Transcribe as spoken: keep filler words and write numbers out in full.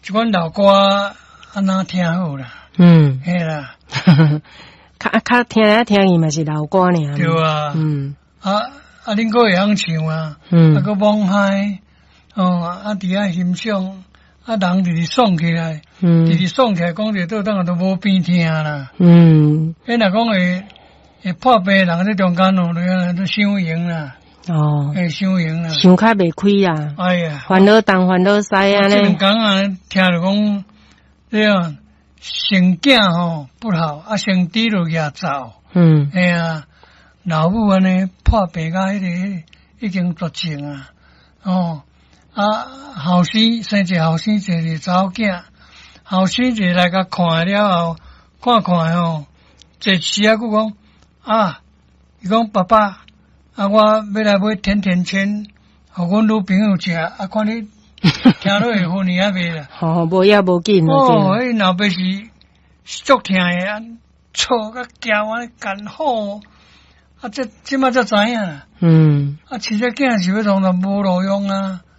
這款老歌按怎聽好啦？嗯，嘿啦，較較聽來聽去嘛是老歌爾。對啊，嗯，啊啊，恁閣會曉唱啊，嗯，啊，閣罔嗨，哦，啊，佇遐欣賞，啊，人直直爽起來，嗯，直直爽起來，講著倒轉來都無病疼啦，嗯，彼若講會會破病的人佇中間哦，都都傷閒啦。哦，會傷閒啦，想較袂開啊！哎呀，煩惱東煩惱西按呢。這兩工啊，聽著講，對啊，生囝吼不好，啊生豬就舉走。嗯，嘿啊，老母按呢破病甲彼个已經絕症啊。哦，啊後生生一個後生一個查某囝，後生一個來共看了後，看看吼，這時啊，閣講啊，伊講爸爸。啊！我欲來買甜甜圈，予阮女朋友食。啊，看你聽落會赴呢抑袂啦？吼，無要無緊。哦，彼老爸是足疼的，啊，吵甲叫按呢艱苦。啊，這這擺才知影。嗯。啊，飼這囝是欲創啥無路用啊？